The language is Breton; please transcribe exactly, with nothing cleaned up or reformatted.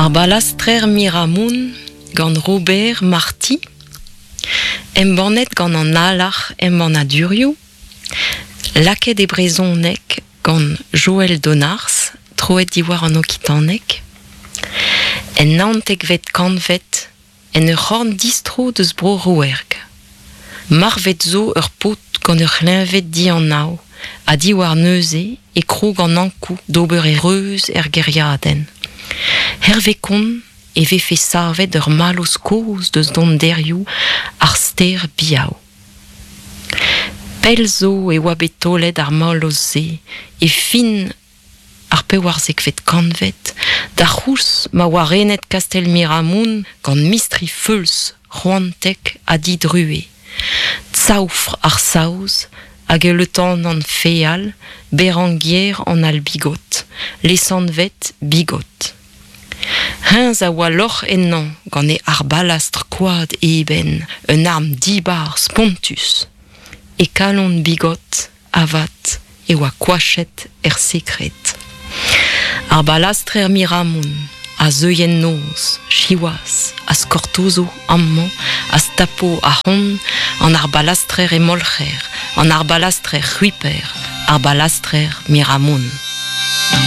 Ar balastrer Miramoun gant Robert Marty, embannet gant an alarc'h embannadurioù, lakaet e brezhoneg gant Joël Donars, troet diwar an okitaneg, en naontekvet kantved en ur c'horn distro deus bro Rouerg. Marvet zo ur paotr gant ur c'hleñved dianav ha diwar neuze e krog an Ankou d'ober e reuz er gêriadenn. Hervez kont e vefe savet ur mallozh kozh deus donderioù ar stêr Biaou. Pell zo e oa bet taolet ar mallozh-se e fin ar pevarzekvet kantved, d'ar c'houlz ma oa renet kastell Miramoun gant mistri feuls, c'hoantek ha didruez. Tsaoufr ar Saoz hag e letanant feal Berenguier an Albigot, lesanvet Bigot. Hennezh a oa lorc'h ennañ gant e arbalastr koad eben, un arm dibar spontus. E kalon Bigot, avat, e oa koachet er sekred. Ar balastrer Miramoun a zeuy en noz, siwazh, az kortozo amañ, az tapo ahont, an arbalastrer hemolc'her, an arbalastrer c'hwiper, ar balastrer Miramoun.